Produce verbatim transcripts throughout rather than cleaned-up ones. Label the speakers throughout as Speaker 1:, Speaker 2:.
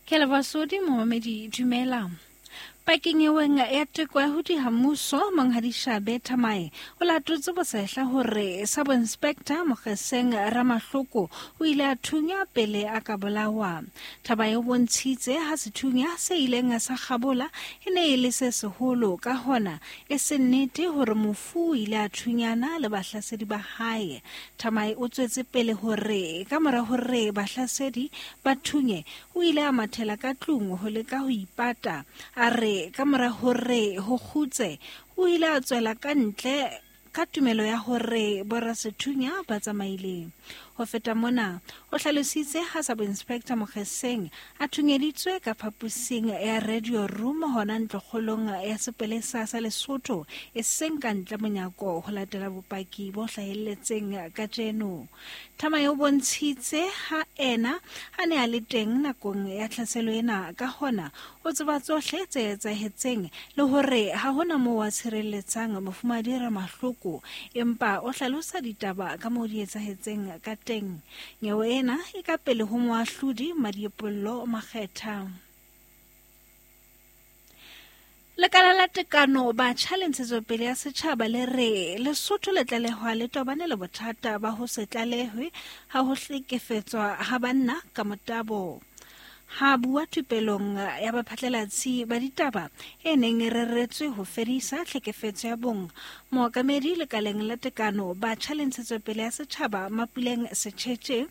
Speaker 1: Ke leboha Sodi momamedi dumela. Pakeng eweng ya teko ya ho diha mmuso Monghadi Shabe Thamae o latotse bosehla hore Sub-Inspector Mokgeseng Ramahloko o ile a thunya pele a ka bolawa. Thaba e bontshitse ha sethunya se ileng sa kgabola e ne e le se seholo, ka hona e se nnete hore mofu o ile a thunyana le bahlasedi ba hae. Thamae o tswetse pele hore ka mora hore bahlasedi ba thunye o ile a mathela ka tlung ho leka ho ipata. A re ka mora hore ho kgutse o ile a tswela ka ntle ka tumelo ya hore borasethunya ba tsamaile. Ho feta mona, o hlalositse ha Sub-Inspector Mokgeseng a thunyeditswe ka phaposing ya radio room hona ntlokgolong ya sepolesa sa Lesotho e seng ka ntle monyako ho latela bopaki bo hlahelletseng kajeno. Thamae o bontshitse ha ena a ne a le teng nakong ya tlhaselo ena, ka hona o tseba tsohle tse etsahetseng le hore ha hona moo a tshireletsang mofumahadi Ramahloko, empa o hlalosa ditaba ka moo di etsahetseng ka teng. Nyewe ena e ka pele ho moahlodi Madiepollo Makgetha. Lekala la tekano batjha le ntshetsopele ya setjhaba le re Lesotho le tlalehwa le tobane le bothata ba ho se tlalehwe ha ho hlekefetswa ha banna ka motabo. Ha bua thupelong ya baphatlalatsi ba ditaba e neng e reretswe ho fedisa tlhekefetso ya bong, mookamedi lekaleng la tekano batjha le ntshetsopele ya setjhaba Mapuleng Setjhetjhe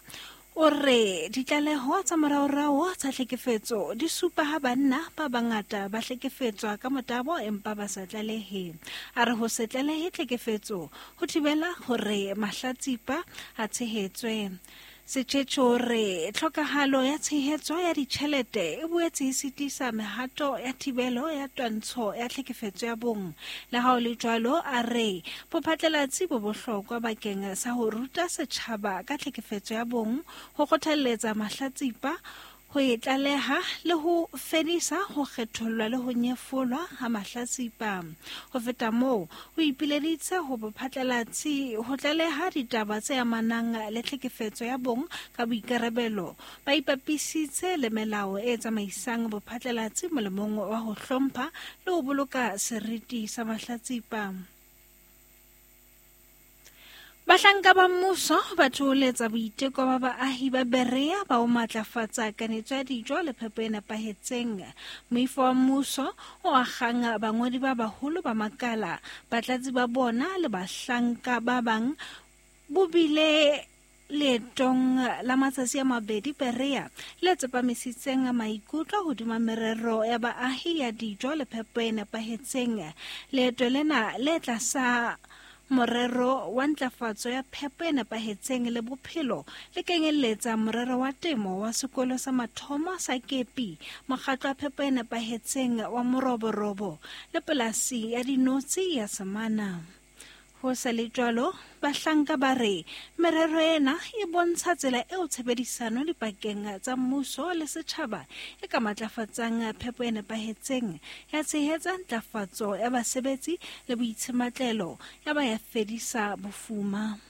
Speaker 1: o re ditlaleho tsa moraorao tsa tlhekefetso di supa ha banna ba bangata ba hlekefetswa ka motabo empa ba sa tlalehe. A re ho se tlalehe tlhekefetso ho thibela hore mahlatsipa a tshehetswe. Setjhetjhe o re tlhokahalo ya tshehetso ya ditjhelete e boetse e sitisa mehato ya thibelo ya twantsho ya tlhekefetso ya bong. Le ha ho le jwalo, a re bophatlalatsi bo bohlokwa bakeng sa ho ruta setjhaba ka tlhekefetso ya bong, ho kgothalletsa mahlatsipa ho e tlaleha le ho fedisa ho kgethollwa le ho nyefolwa ha mahlatsipa. Ho feta moo, o ipileditse ho bophatlalatsi ho tlaleha ditaba tse amanang le tlhekefetso ya bong ka boikarabelo, ba ipapisitse le melao e tsamaisang bophatlalatsi molemong wa ho hlompha le ho boloka seriti sa mahlatsipa. Bahlanka ba mmuso ba thoholetsa boiteko ba baahi ba Berea ba ho matlafatsa kanetso ya dijo le phepo e nepahetseng. Moifo wa mmuso o akgang bangodi ba baholo ba makala, batlatsi ba bona le bahlanka ba bang bo bile leetong la matsatsi a mabedi Berea le tsepamisitseng maikutlo hodima merero ya baahi ya dijo le phepo e nepahetseng. Leeto lena le tlasa morero wa ntlafatso ya phepo e nepahetseng le bophelo le kenyelletsa morero wa temo wa sekolo sa mathomo sa Kepi, mokgatlo wa phepo e nepahetseng wa Moroborobo le polasi ya dinotsi ya Semana. Ho sa le jwalo, bahlanka ba re merero ena e bontsha tsela eo tshebedisano dipakeng tsa mmuso le setjhaba e ka matlafatsang phepo e nepahetseng, ya tshehetsa ntlafatso ya basebetsi le boitshimatlelo, ya ba ya fedisa bofuma.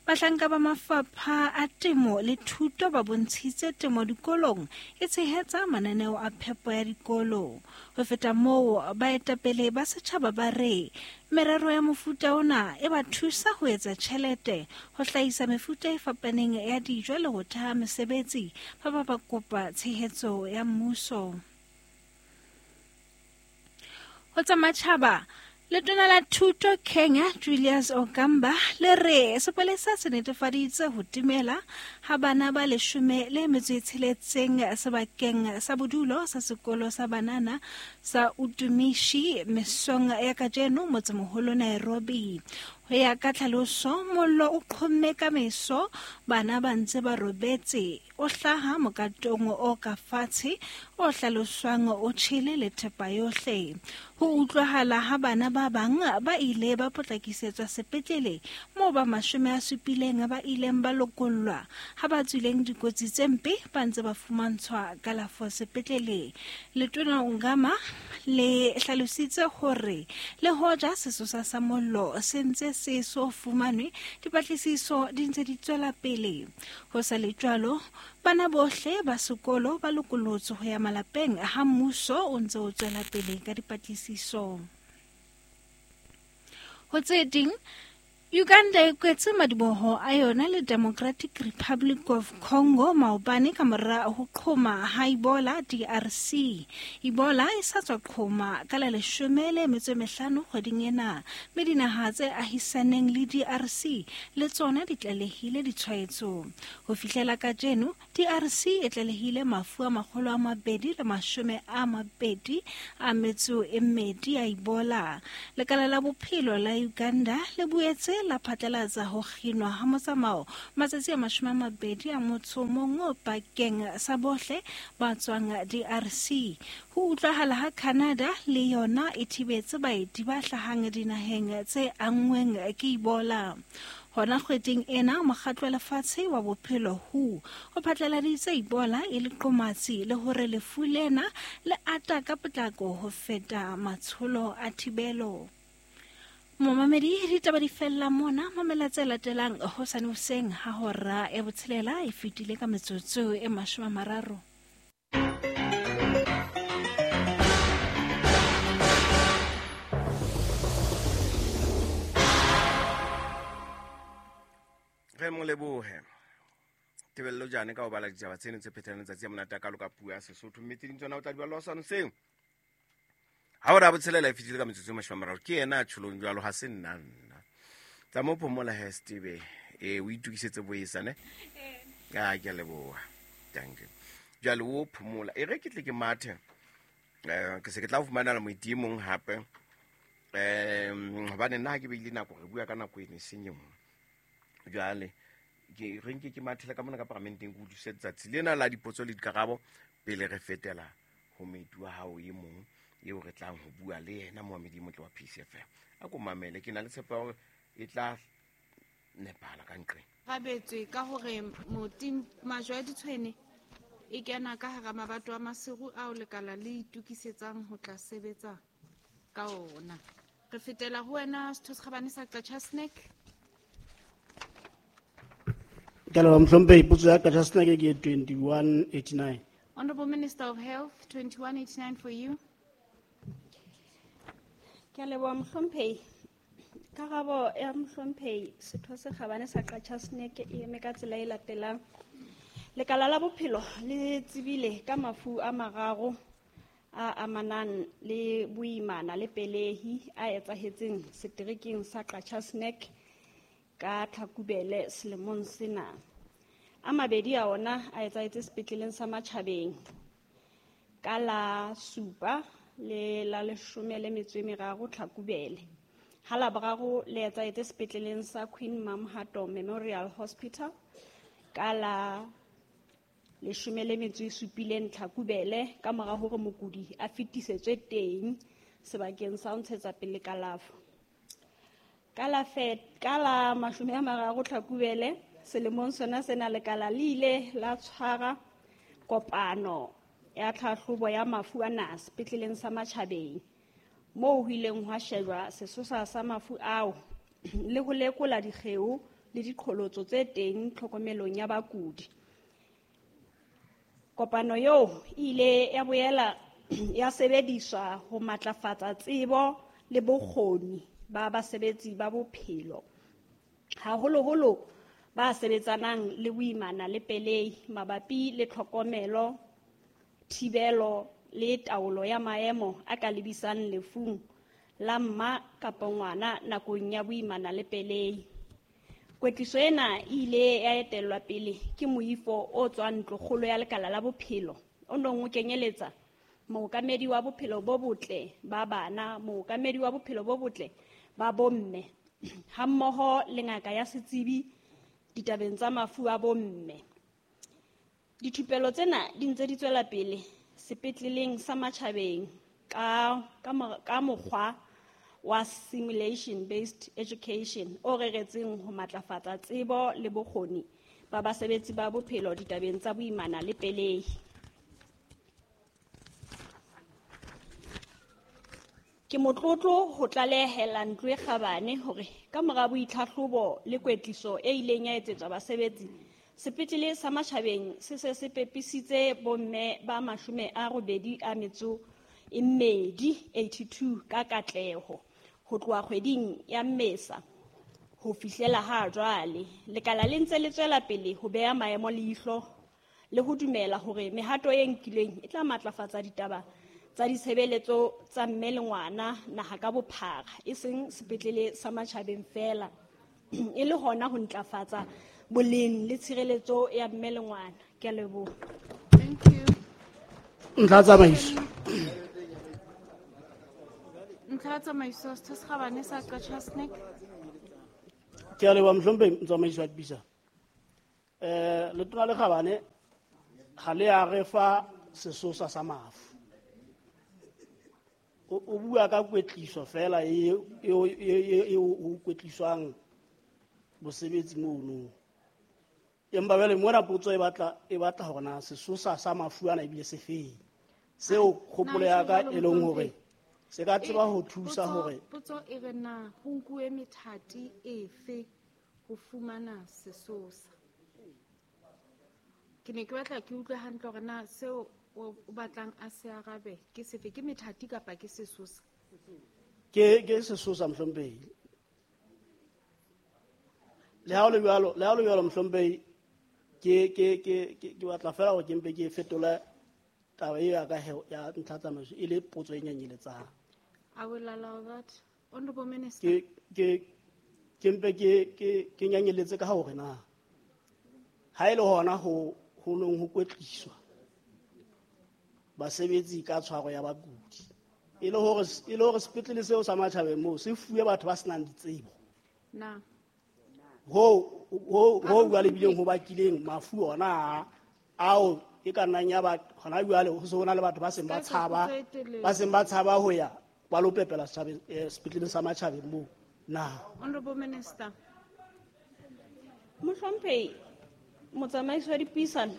Speaker 1: Bahlanka ba mafapha a temo le thuto ba bontshitse temo dikolong e tshehetsa mananeo a phepo ya dikolo. Ho feta moo, baetapele ba setjhaba ba re merero ya mofuta ona e ba thusa ho etsa tjhelete, ho hlahisa mefuta e fapaneng ya dijo le ho theha mesebetsi, ba ba ba kopa tshehetso ya mmuso. Ho tsa matjhaba, Letona la Thuto Kenya Julius Ogamba le re sepolesa se netefaditse ho timela ha bana ba leshome le metso e tsheletseng sebakeng sa bodulo sa sekolo sa banana sa Utumishi mesong ya kajeno motsemoholo Nairobi. Ho ya ka tlhaloso, mollo o qhomme ka meso bana ba ntse ba robetse, o hlaha mokatong o ka fatshe o hlaloswang o tjhele le thepa yohle. Ho utlwahala ha bana ba bang ba ile ba potlakisetswa sepetlele moo ba mashome a supileng ba ileng ba lokollwa, ha ba tswileng dikotsi tse mpe ba ntse ba fumantshwa kalafo sepetlele. Letona Ongama le hlalositse hore le hoja sesosa sa mollo se ntse se so fumanwe, dipatlisiso di ntse di tswela pele. Ho sa le jwalo, bana bohle ba sekolo ba lokolotswe ho ya malapeng ha mmuso o ntse o tswela pele ka dipatlisiso. Ho tse ding, Uganda e kwetse madiboho a yona le Democratic Republic of Congo maobane ka mora ho qhoma ha Ebola D R C. Ebola e sa tswa qhoma ka la leshome le metso e mehlano kgweding ena, mme dinaha tse ahisaneng le D R C le tsona di tlalehile ditshwaetso. Ho fihlela kajeno, D R C e tlalehile mafu a makgolo a mabedi le mashome a mabedi a metso e mmedi a Ebola. Lekala la bophelo la Uganda le boetse la phatlalatsa ho kginwa ha motsamao matsatsi a mashome a mabedi a motso mong pakeng sa bohle ba tswang D R C. Ho utlwahala ha Canada le yona e thibetse baeti ba hlahang dinaheng tse anngweng ke Ebola. Hona kgweding ena, mokgatlo wa lefatshe wa bophelo W H O o phatlaladitse Ebola e le qomatsi le hore lefu lena le ata ka potlako ho feta matsholo a thibelo. Momamedi, ditaba di fella mona. Mamela tse latelang hosane hoseng ha hora ya botshelela e fetile ka metsotso e mashome a mararo.
Speaker 2: Re mo lebohe Tebello Jane ka ho bala ditaba tseno tse phethang letsatsi ya monate ka loka puo ya Sesotho, mme tse ding tsona o tla di bala hosane hoseng ha hora ya botshelela e fetile ka metsotso e mashome a mararo. Ke yena a tjholong jwalo, ha se nna nna. Tsa mo phomola he Steve, eh o itukisetse boesa ne? Ah, ke a leboha. Danke. Jwale o phomola. E re ke tle ke mathe. Eh ke se ke tla fumana moeti e mong hape. Eh hobane nna ha ke beile nako re bua ka nako eno e seng e nngwe. Jwale ke re nke ke mathela ka mona ka paramenteng ke utlwisise letsatsi lena la dipotso le dikarabo pele re fetela ho moeti wa hao e mong eo re tlang ho bua le yena moamedi motle wa P C F M. A ko mamele, ke na le tshepo ya hore e tla nepahala ka nqeng.
Speaker 3: Rabetswe ka hore moting majwe a ditshwene e kena ka hara mabato a Maseru ao lekala le itukisetsang ho tla sebetsa ka ona. Re fetela ho wena Setho se Kgabane sa Qacha's Nek.
Speaker 4: Ke leboha mohlomphehi, potso ya Qacha's Nek ke twenty-one eighty-nine.
Speaker 3: Honorable Minister of Health, twenty-one eighty-nine for you.
Speaker 5: Ke leboha mohlomphehi. Karabo ya mohlomphehi Setho se Kgabane sa Qacha's Nek e eme ka tsela e latelang. Lekala la bophelo le tsebile ka mafu a mararo a amanang le boimana le pelehi a etsahetseng seterekeng sa Qacha's Nek ka Tlhakubele selemong sena. A mabedi a ona a etsahetse sepetleleng sa Matjhabeng ka la supa le la leshome le metso e meraro Tlhakubele. Ha la boraro le etsahetse sepetleleng sa Queen Mamhato Memorial Hospital ka la leshome le metso e supileng Tlhakubele ka mora hore mokudi a fetisetswe teng sebakeng sa ho ntshetsa pele kalafo. Ka la ka la mashome a mararo Tlhakubele selemong sona sena lekala le ile la tshwara kopano ya tlhahlobo ya mafu ana sepetleleng sa Matjhabeng moo ho ileng hwa shejwa sesosa sa mafu ao le ho lekola dikgeo le diqholotso tse teng tlhokomelong ya bakudi. Kopano eo e ile ya boela ya sebediswa ho matlafatsa tsebo le bokgoni ba basebetsi ba bophelo, haholoholo ba sebetsanang le boimana le pelehi mabapi le tlhokomelo, thibelo le taolo ya maemo a ka lebisang lefung la mma kapa ngwana nakong ya boimana le pelehi. Kwetliso ena e ile ya etellwa pele ke moifo o tswang ntlokgolo ya lekala la bophelo o nong o kenyeletsa mookamedi wa bophelo bo botle ba bana, mookamedi wa bophelo bo botle ba bomme hammoho le ngaka ya setsebi ditabeng tsa mafu a bomme. Dithupelo tsena di ntse di tswela pele sepetleleng sa Matjhabeng ka ka ka mokgwa wa simulation based education o reretseng ho matlafatsa tsebo le bokgoni ba basebetsi ba bophelo ditabeng tsa boimana le pelehi. Ke motlotlo ho tlalehela ntlo e kgabane hore ka mora boitlhahlobo le kwetliso e ileng ya etsetswa basebetsi, sepetlele sa Matjhabeng se se se pepisitse bomme ba mashome a robedi a metso e mmedi eighty-two ka katleho ho tloha kgweding ya Mmesa ho fihlela ha jwale. Lekala le ntse le tswela pele ho beha maemo leihlo le ho dumela hore mehato e nkilweng e tla matlafatsa ditaba tsa ditshebeletso tsa mme le ngwana naha ka bophara, e seng sepetlele sa Matjhabeng feela, e le hona ho ntlafatsa boleng le tshireletso ya mme le ngwana. Ke a leboha.
Speaker 3: Thank you.
Speaker 4: Ntlha tsamaiso.
Speaker 3: Ntlha tsamaiso, Setho se Kgabane sa Qacha's Nek.
Speaker 4: Ke a leboha mohlomphehi motsamaisi wa dipuisano. Eh, letona le kgabane ga le a re fa sesosa sa mafu. O, o bua ka kwetliso fela e, e, e, e, o kwetliswang bosebetsi mono. Empa jwale mona potso e batla, e batla hore na sesosa sa mafu ana ebile se feng. Seo kgopolo ya ka e leng hore se ka tseba ho thusa hore
Speaker 3: potso e re na ho nkuwe methati efe ho fumana sesosa. Ke ne ke batla ke utlwe hantle hore na seo o batlang a se arabe ke sefe, ke methati kapa ke sesosa?
Speaker 4: Ke, ke sesosa mohlomphehi. Le ha o le jwalo, le ha o le jwalo mohlomphehi, ke, ke, ke, ke, ke batla fela hore ke mpe ke fetole taba eo ya ka he, ya ntlha tsamaiso e le potso e nyenyeletsang.
Speaker 3: I will allow that. Honorable Minister.
Speaker 4: Ke, ke, ke mpe ke, ke, ke nyenyeletse ka hore na ha e le hona ho, ho nong ho kwetliswa basebetsi ka tshwaro ya bakudi, e le hore, e le hore sepetlele seo sa Matjhabeng moo se fuwe batho ba senang ditsebo.
Speaker 3: Na.
Speaker 4: Ho, ho, ho jwale bileng ho bakileng mafu ona ao e ka nnang ya ba hona jwale ho se ho na le batho ba seng ba tshaba, ba seng ba tshaba ho ya ba lo pepela setjhabeng, eh, sepetleleng sa Matjhabeng moo. Na.
Speaker 3: Honorable Minister.
Speaker 5: Mohlomphehi motsamaisi wa dipuisano,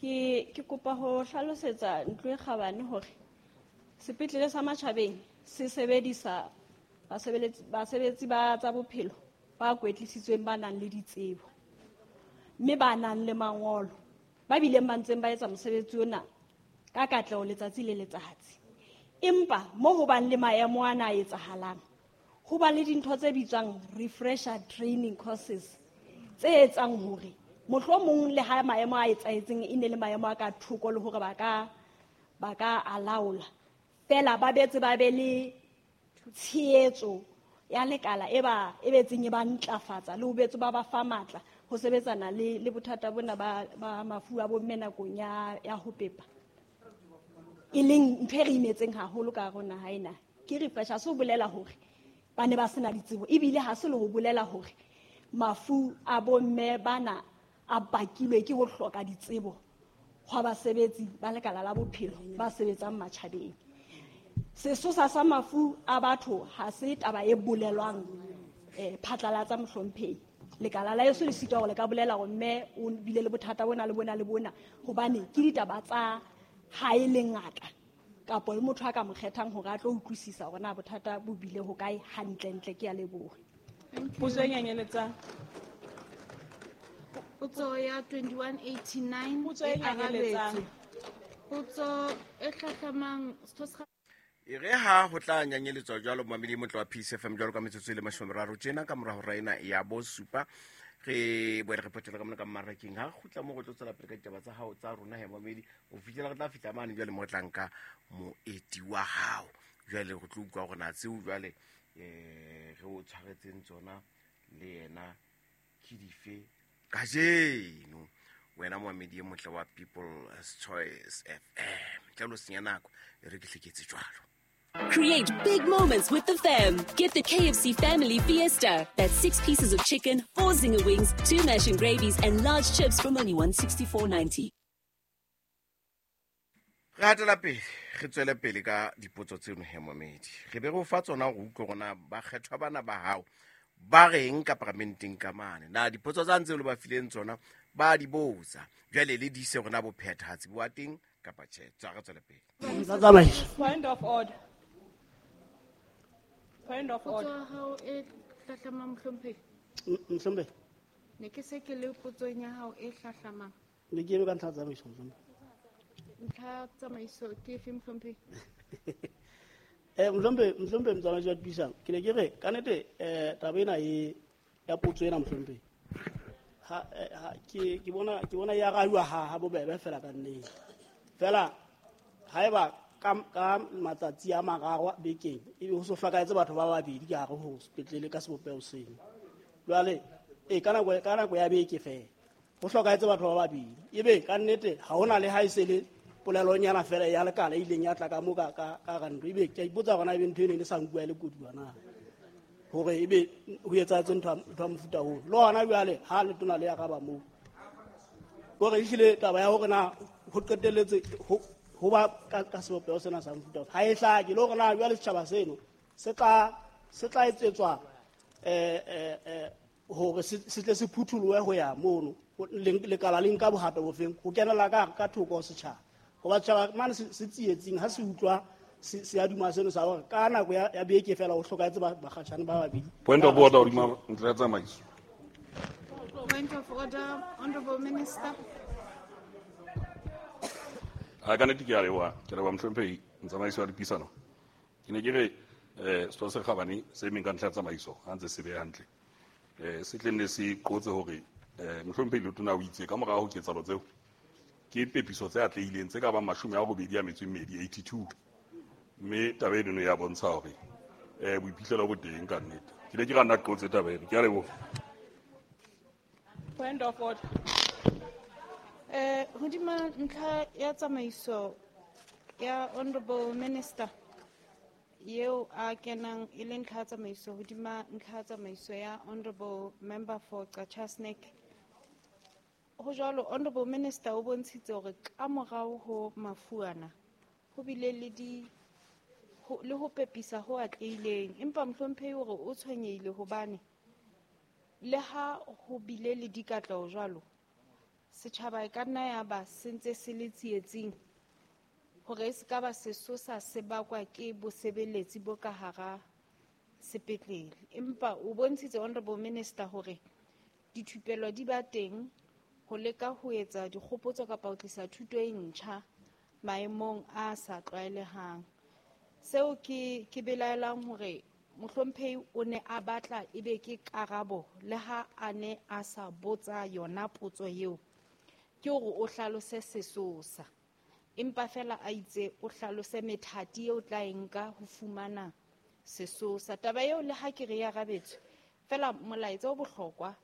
Speaker 5: ke, ke kopa ho hlalosetsa ntlo e kgabane hore sepetlele sa Matjhabeng se sebedisa basebeletsi, basebetsi ba tsa bophelo ba kwetlisitsweng ba nang le ditsebo mme ba nang le mangolo, ba bileng ba ntseng ba etsa mosebetsi ona ka katleho letsatsi le letsatsi. Empa mo ho bang le maemo ana a etsahalang, ho ba le dintho tse bitswang refresher training courses tse etsang hore mohlomong le ha maemo a etsahetseng e ne le maemo a ka thoko le hore ba ka, ba ka a laola, fela ba betse ba be le tshehetso ya lekala e ba, e betseng e ba ntlafatsa le ho betse ba ba fa matla ho sebetsana le, le bothata bona ba, ba mafu a bomme nakong ya, ya ho pepa, e leng ntho e re imetseng haholo ka hare ho naha ena. Ke refresher, se ho bolela hore ba ne ba sena ditsebo, ebile ha se le ho bolela hore mafu a bomme bana a bakilwe ke ho hloka ditsebo hwa basebetsi ba lekala la bophelo ba sebetsang matjhabeng. Sesosa sa mafu a batho ha se taba e bolelwang, eh, phatlalatsa mohlomphehi. Lekala la heso le sitwa hore le ka bolela hore mme o bile le bothata bona le bona le bona, hobane ke ditaba tsa hae le ngaka kapa le motho a ka mo kgethang hore a tlo utlwisisa hore na bothata bo bile ho kae hantlentle. Ke a leboha.
Speaker 6: Potso e nyenyeletsang.
Speaker 3: Potso ya twenty-one eighty-nine
Speaker 6: Potso e
Speaker 3: e
Speaker 6: nyenyeletsang.
Speaker 3: arabetswe. Potso e hlahlamang, Setho se
Speaker 2: E re ha ho tla nyanyeletswa jwalo momamedi motle wa Peace F M jwalo ka metsotso e le mashome a mararo tjena ka mora hora ena ya bosupa, re boele re phethela ka mona ka mmarakeng. Ha re kgutla moo re tlo tswela pele ka ditaba tsa hao tsa rona he momamedi, ho fihlela re tla fihla mane jwale mo re tla nka moeti wa hao. Jwale re tlo utlwa hore na tseo jwale, eh, re o tshwaretseng tsona le yena ke dife kajeno. Wena momamedi e motle wa People's Choice F M, ntle le ho senya nako, e re ke hleketse jwalo.
Speaker 7: Create big moments with the fam. Get the K F C Family Fiesta. That's six pieces of chicken, four zinger wings, two mash and gravies, and large chips from only one sixty-four ninety.
Speaker 2: Re hatela pele, re tswele pele ka dipotso tseno he momedi. Re be re o fa tsona hore o utlwe hore na bakgethwa bana ba hao ba reng ka paramenteng ka mane. Na dipotso tsa ntse le ba fileng tsona ba di botsa. Jwale le di ise hore na bophethahatsi bo wa teng kapa tjhe. Tswa re tswele pele.
Speaker 4: Tsa tsamaiso.
Speaker 6: Point of order. Point of order.
Speaker 3: Potso ya hao e hlahlamang, mohlomphehi.
Speaker 4: Mohlomphehi.
Speaker 3: Ne ke se ke le potsong ya hao e hlahlamang.
Speaker 4: Ne ke eme ka ntlha ya tsamaiso, mohlomphehi.
Speaker 3: Ntlha ya tsamaiso ke efe, mohlomphehi?
Speaker 4: Eh, mohlomphehi, mohlomphehi motsamaisi wa dipuisano, ke ne ke re ka nnete, eh, taba ena e ya potso ena, mohlomphehi. Ha, eh, ha, ke, ke bona, ke bona e arabiwa ha, ha bobebe fela ka nnete. Fela haeba ka, ka matsatsi a mararo bekeng ebe ho so hlokahetse batho ba babedi ka hare ho sepetlele ka sebopeho seno. Jwale, e ka nako, ka nako ya beke fela ho hlokahetse batho ba babedi, ebe ka nnete ha hona le ha e se le polelonyana fela ya lekala e ileng ya tla ka mo ka, ka, ka hara ntlo. Ebe ke a ipotsa hore na ebe ntho eno e ne sa nkuwa e le koduwa na, hore ebe ho etsahetse ntho ya, ntho ya mofuta oo. Le hona jwale ha letona le araba moo, hore ehlile taba ya hore na ho qetelletse ho, ho ba ka, ka sebopeho sena sa mofuta oo ha e hlake, le hore na jwale setjhaba seno se tla, se tla etsetswa, eh, eh, eh, hore se, se tle se phutholohe ho ya mono, le, lekala le nka bohato bofeng ho kenela ka, ka thoko ho setjhaba. Hoba setjhaba mane se, se tsietsing ha se utlwa se, se aduma seno sa hore ka nako ya, ya beke fela ho hlokahetse ba, bakgatjhane ba babedi.
Speaker 8: Point of order, hodima ntlha ya tsamaiso.
Speaker 3: Point of order, Honorable Minister.
Speaker 8: Ha ka nnete ke a leboha, ke leboha mohlomphehi motsamaisi wa dipuisano. Ke ne ke re, eh, setho se kgabane se emeng ka ntlha ya tsamaiso ha ntse se beha hantle. Eh, se tle nne se qotse hore, eh, mohlomphehi Letona o itse ka morao ho ketsahalo tseo ke pepiso tse atlehileng tse ka bang mashome a robedi a metso e mmedi, eighty-two. Mme taba eno ya bontsha hore, eh, boiphihlelo bo teng ka nnete. Ke ne ke ra nna qotse taba eno. Ke a leboha.
Speaker 6: Point of order.
Speaker 3: Eh, hodima ntlha ya tsamaiso ya Honorable Minister eo a kenang e le ntlha ya tsamaiso hodima ntlha ya tsamaiso ya Honorable Member for Qacha's Nek. Ho jwalo, Honorable Minister o bontshitse hore ka morao ho mafu ana ho bile le di, ho, le ho pepisa ho atlehileng, empa mohlomphehi hore o tshwenyehile hobane le ha ho bile le dikatleho jwalo, setjhaba e ka nna ya ba se ntse se le tsietsing hore e se ka ba sesosa se bakwa ke bosebeletsi bo ka hara sepetlele. Empa o bontshitse Honorable Minister hore dithupelo di ba teng ho leka ho etsa dikgopotso kapa ho tlisa thuto e ntjha maemong a sa tlwaelehang. Seo ke, ke belaelang hore mohlomphehi o ne a batla ebe ke karabo le ha a ne a sa botsa yona potso eo, ke hore o hlalose sesosa, empa fela a itse o hlalose methati eo tla e nka ho fumana sesosa. Taba eo le ha ke re e arabetswe, fela molaetsa o bohlokwa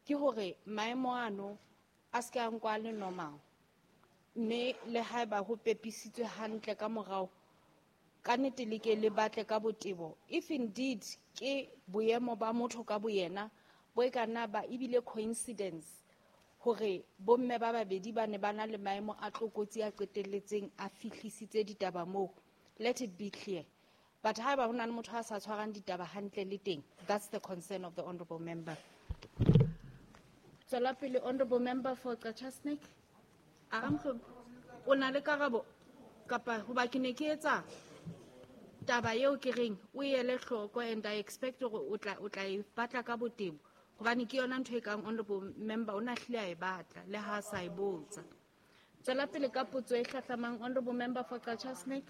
Speaker 3: ke hore maemo ano a se ke a nkwa le normal, mme le haeba ho pepisitswe hantle ka morao, ka nnete le ke le batle ka botebo. If indeed ke boemo ba motho ka boyena bo e ka nna ba ebile coincidence hore bomme ba babedi ba ne ba na le maemo a tlokotsi a qetelletseng a fihlisitse ditaba moo, let it be clear. But haeba ho na le motho a sa tshwarang ditaba hantle le teng, that's the concern of the honorable member. Tswela pele, honorable member for Qacha's Nek. Aramhlo, o na le karabo kapa hoba ke ne ke etsa taba eo ke reng o ele hloko, and I expect hore o tla, o tla e batla ka botebo, hobane ke yona ntho e kang honorable member o na hlile a e batla le ha a sa e botsa. Tswela pele ka potso e hlahlamang, honorable member for Qacha's Nek.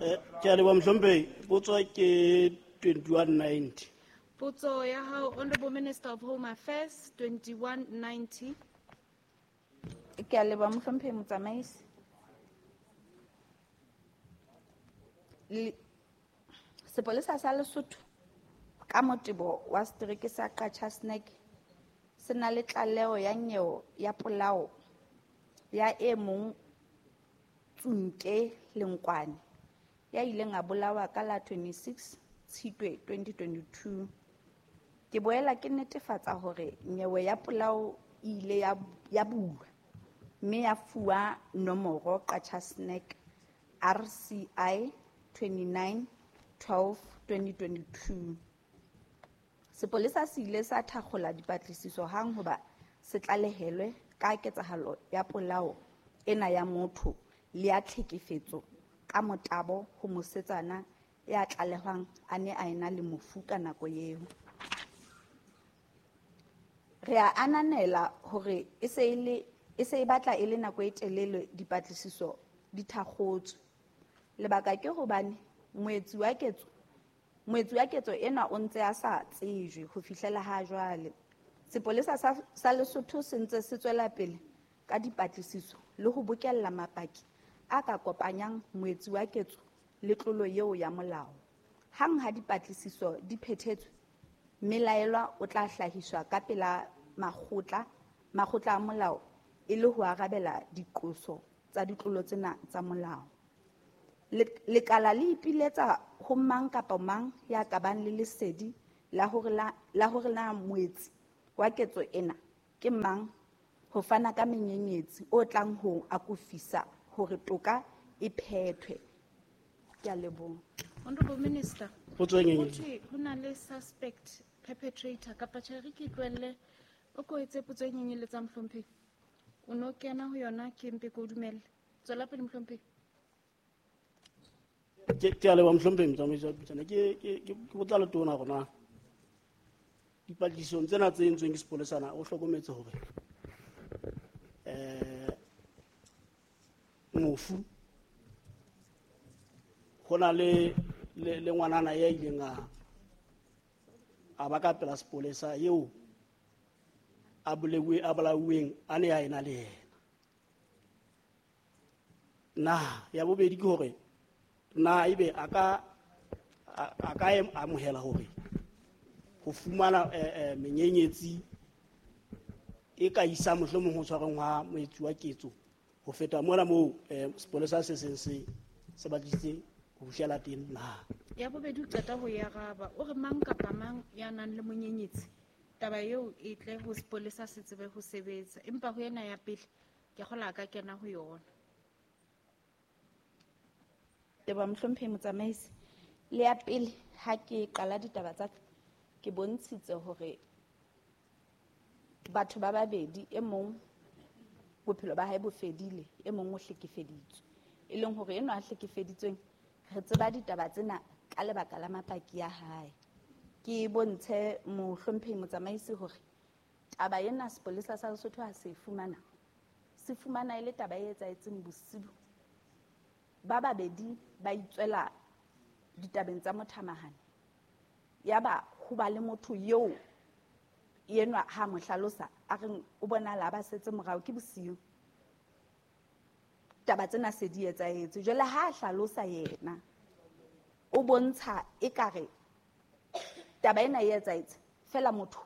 Speaker 4: Eh, ke a leboha mohlomphehi. Potso ke twenty-one ninety.
Speaker 3: Potso ya hao, Honorable Minister of Home Affairs, twenty-one ninety.
Speaker 9: Ke a leboha mohlomphehi motsamaisi. Le-, Sepolesa sa Lesotho ka motebo wa setereke sa Qacha's Nek se na le tlaleho ya nyewe ya polao ya e mong Tsunke Lenkwane ya ileng a bolawa ka la twenty-six Tshitwe twenty twenty-two. Ke boela ke netefatsa hore nyewe ya polao e ile ya, ya bulwa mme ya fuwa nomoro Qacha's Nek R C I twenty-nine twelve twenty twenty-two. Sepolesa se ile sa thakgola dipatlisiso hang hoba se tlalehelwe ka ketsahalo ya polao ena ya motho le ya tlhekefetso ka motabo ho mosetsana ya tlalehwang a ne a ena le mofu ka nako eo. Re a ananela hore e se e le e se e batla e le nako e telele dipatlisiso di thakgotswe. Lebaka ke hobane moetsi wa ketso moetsi wa ketso ena o ntse a sa tsejwe ho fihlela ha jwale. Sepolesa sa, sa Lesotho se ntse se tswela pele ka dipatlisiso le ho bokella mapaki a ka kopanyang moetsi wa ketso le tlolo eo ya molao. Hang ha dipatlisiso di phethetswe, mmelaelwa o tla hlahiswa ka pela makgotla, makgotla a molao e le ho arabela diqoso tsa ditlolo tsena tsa molao. Lekala le ipiletsa ho mang kapa mang ya ka bang le lesedi la hore la, la hore na moetsi wa ketso ena ke mang, ho fana ka menyenyetsi o tlang ho akofisa hore toka e phethwe. Ke a leboha.
Speaker 3: Honorable Minister,
Speaker 4: Potso e nngwe.
Speaker 3: ho thwe ho na le suspect perpetrator kapa tjhe re ke tlohelle o ko etse potso e nyenyeletsang mohlomphehi. O no kena ho yona ke mpe ke o dumelle. Tswela pele mohlomphehi.
Speaker 4: Ke ke a leboha mohlomphehi motsamaisi wa dipuisano. Ke ke ke botsa letona hore na dipatlisisong tsena tse entsweng ke sepolesa na o hlokometse hore eh mofu ho na le le, le ngwanana ya ileng a a ba ka pela sepolesa eo a boleuwe a bolauweng a ne a ena le yena. Na ya bobedi ke hore na ebe a ka a ka amohela hore ho fumana eh, menyenyetsi e ka isa mohlomong ho tshwarweng ha moetsi wa ketso ho feta mona moo eh, sepolesa se seng se se batlisitse ho fihlela teng na.
Speaker 3: Ya bobedi o qeta ho e araba, o re mang kapa mang ya nang le monyenyetsi taba eo e tle ho sepolesa se tsebe ho sebetsa, empa ho ena ya pele ke kgola ka kena ho yona.
Speaker 9: Leboha mohlomphehi motsamaisi. Le ya pele ha ke qala ditaba tsa ka, ke bontshitse hore batho ba babedi, e mong bophelo ba hae bo fedile, e mong o hlekefeditswe. E leng hore enwa a hlekefeditsweng re tseba ditaba tsena ka lebaka la mapaki ya hae. Ke bontshe mohlomphehi motsamaisi hore taba ena sepolesa sa Lesotho ha se fumana, se fumana e le taba e etsahetseng bosiu. Ba babedi ba itswela ditabeng tsa mothamahane. Yaba ho ba le motho eo enwa ha mo hlalosa a reng o bonahala ba setse morao ke bosiu. Taba tsena se di etsahetse. Jwale ha a hlalosa yena o bontsha ekare taba ena e etsahetse fela motho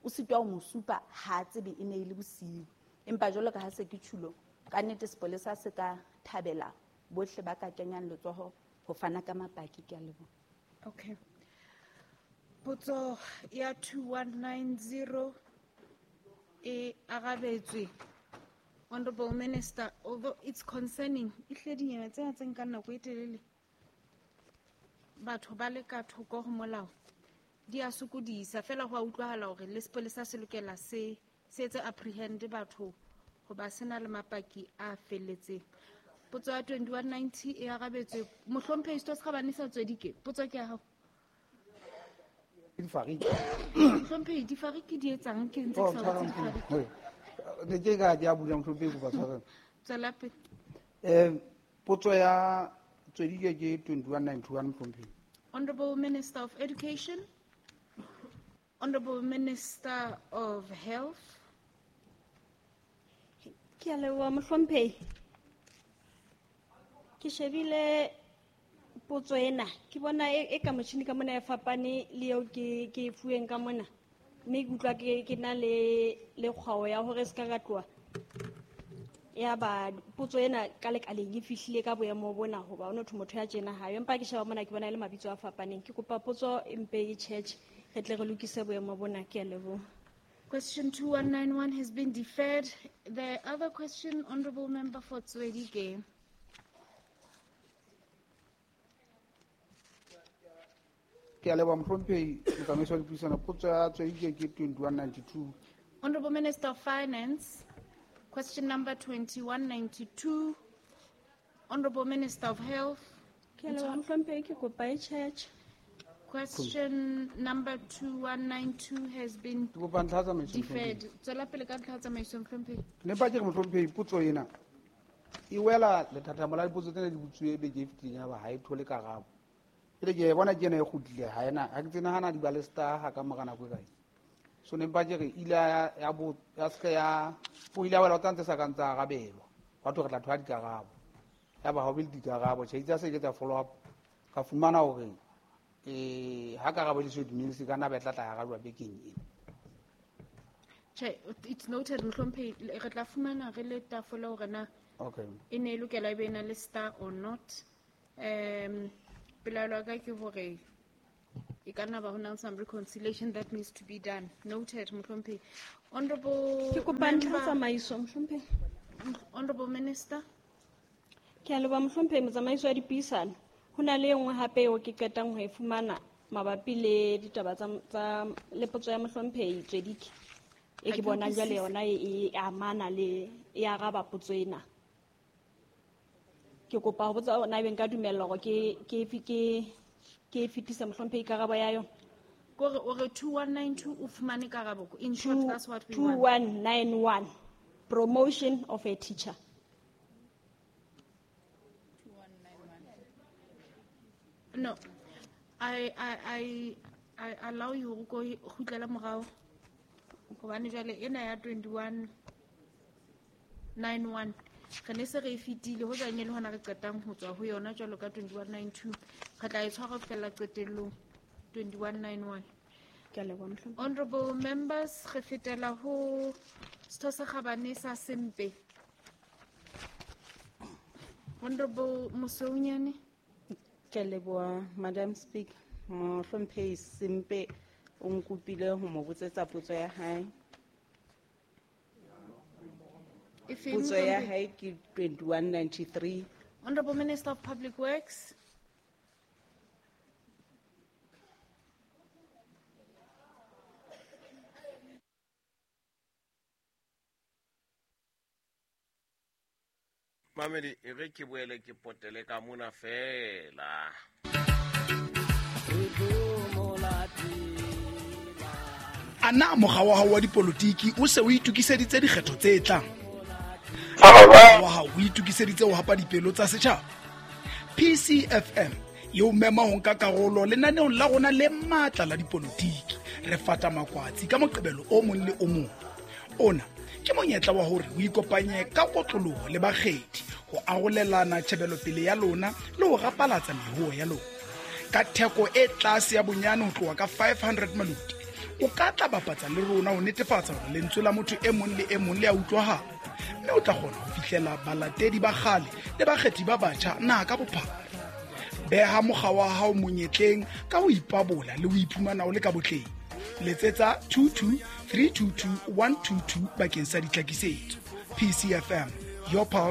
Speaker 9: o sitwa ho mo supa ha a tsebe e ne e le bosiu. Empa jwalo ka ha se ke tjhulo, ka nnete sepolesa se ka thabela bohle ba ka kenyang letsoho ho fana ka mapaki. Ke a leboha.
Speaker 3: Okay. Potso ya two one nine zero e arabetswe. Honorable Minister, although it's concerning, ehlile dinyewe tsena tse nkang nako e telele batho ba le ka thoko ho molao di a sokodisa, fela ho a utlwahala hore le sepolesa se lokela se se etse apprehend batho hoba se na le mapaki a felletseng. Potso ya twenty-one ninety e arabetswe. Mohlomphehi Setho se Kgabane sa Tswedike, potso ke ya hao.
Speaker 10: Difariki.
Speaker 3: Mohlomphehi, difariki di etsang? Ke ntse ke sa botse difariki.
Speaker 10: Ne ke ka di a bula mohlomphehi kopa tshwarelo.
Speaker 3: Tswela pele.
Speaker 10: Eh, potso ya Tswedike ke twenty-one ninety-one mohlomphehi.
Speaker 3: Honorable Minister of Education, Honorable Minister of Health.
Speaker 5: Ke a leboha mohlomphehi. Ke shebile potso ena, ke bona e, e ka motjhini ka mona e fapane le eo ke, ke e fuweng ka mona. Mme ke utlwa ke, ke na le, le kgwao ya hore se ka ka tloha. Ya ba potso ena ka lekaleng e fihlile ka boemo bona hoba ho no thwe motho ya tjena ha yo. Empa ke sheba mona ke bona e le mabitso a fapaneng. Ke kopa potso e mpe e tjhetjhe, re tle re lokise boemo bona. Ke a leboha.
Speaker 3: Question two one nine one has been deferred. The other question, Honorable Member for Tswedike.
Speaker 10: Ke a leboha mohlomphehi motsamaisi wa dipuisano. Potso ya Tswedike ke twenty-one ninety-two.
Speaker 3: Honorable Minister of Finance, question number twenty-one ninety-two. Honorable Minister of Health.
Speaker 5: Ke a leboha mohlomphehi, ke kopa e tjhetjhe.
Speaker 3: Question number two one nine two has been
Speaker 10: Ke kopa ntlha ya tsamaiso,
Speaker 3: deferred.
Speaker 10: mohlomphehi.
Speaker 3: Tswela pele ka ntlha ya tsamaiso, mohlomphehi.
Speaker 10: Ne mpa ke re mohlomphehi potso ena e wela lethathamo la dipotso tsena di botsuwe beke e fetileng ya ba ha e thole karabo. Pele ke e bona ke ena e kgutlile, ha ena, ha ke tsebe nahana di ba le star ha ka mora nako e kae. So ne mpa ke re ile ya, ya bo, ya se ke ya, o ile a wela tsa ntse sa kang tsa arabelwa. Batho re tla thola dikarabo. Ya ba ha o be le dikarabo, tjhe, itse ha se ke tsa follow up, ka fumana hore, eh, ha karabo e le so dumele, se ka nna ba e tla tla arajwa bekeng ena.
Speaker 3: Tjhe, it's noted, mohlomphehi. Re tla fumana re le tafole hore na
Speaker 10: Okay.
Speaker 3: e ne e lokela e be e na le star or not. Um, pelaelo ya ka ke hore e ka nna ba ho na le some reconciliation that needs to be done. Noted, mohlomphehi. Honorable
Speaker 5: Ke kopa ntlha
Speaker 3: member,
Speaker 5: tsamaiso, mohlomphehi.
Speaker 3: Honorable Minister.
Speaker 5: Ke a leboha mohlomphehi, motsamaisi wa dipuisano. Ho na le e nngwe hape eo ke qetang ho e fumana mabapi le ditaba tsa, tsa le potso ya mohlomphehi Tswedike. E
Speaker 3: Ha
Speaker 5: ke
Speaker 3: ke
Speaker 5: bonang jwale
Speaker 3: utlwisise.
Speaker 5: yona e, e amana le, e araba potso ena. Ke kopa ho botsa hore na ebe nka dumellwa hore ke, ke, ke, ke e fetise mohlomphehi karabo ya yona.
Speaker 3: Kore o re two one nine two o fumane karabo. In short,
Speaker 5: Two,
Speaker 3: that's what we
Speaker 5: two
Speaker 3: want.
Speaker 5: one nine one. Promotion of a teacher.
Speaker 3: No, I, I, I, I allow you ho ko kgutlela morao. Hobane jwale ena ya twenty-one nine one re ne se re e fetile, ho jwang e le hona re qetang ho tswa ho yona jwalo ka twenty-one nine two. Re tla e tshwara ho fihlela qetellong, twenty-one nine one.
Speaker 5: Ke a leboha, mohlomphehi.
Speaker 3: Honorable members, re fetela ho setho se kgabane sa Sempe. Honorable Mosweunyane.
Speaker 6: Ke a leboha, Madam Speaker. Mohlomphehi Sempe o nkopile ho mo botsetsa potso ya hae.
Speaker 3: E feng,
Speaker 6: Potso ya
Speaker 3: mohlomphehi?
Speaker 6: hae ke twenty-one ninety-three.
Speaker 3: Honorable Minister of Public Works.
Speaker 2: Mamedi, e re ke boele ke potele ka mona fela.
Speaker 11: A na mokga wa hao wa dipolotiki o se o itokiseditse dikgetho tse tlang? Wa hao o itokiseditse ho hapa dipelo tsa setjhaba? P C F M e o mema ho nka karolo lenaneong la rona le matla la dipolotiki. Re fata makwatsi ka Moqebelo o mong le o mong. Ona ke monyetla wa hore o ikopanye ka kotloloho le bakgethi ho arolelana tjhebelopele ya lona le ho rapalatsa mehoho ya lona. Ka theko e tlase ya bonyane ho tloha ka five hundred maluti, o ka tla bapatsa le rona ho netefatsa hore lentswe la motho e mong le e mong le a utlwahala, mme o tla kgona ho fihlela balatedi ba kgale le bakgethi ba batjha naha ka bophara. Beha mokga wa hao monyetleng ka ho ipabola le ho iphumana o le ka botleng. Letsetsa two two three two two one two two bakeng sa ditlhakisetso. P C F M, your pulse.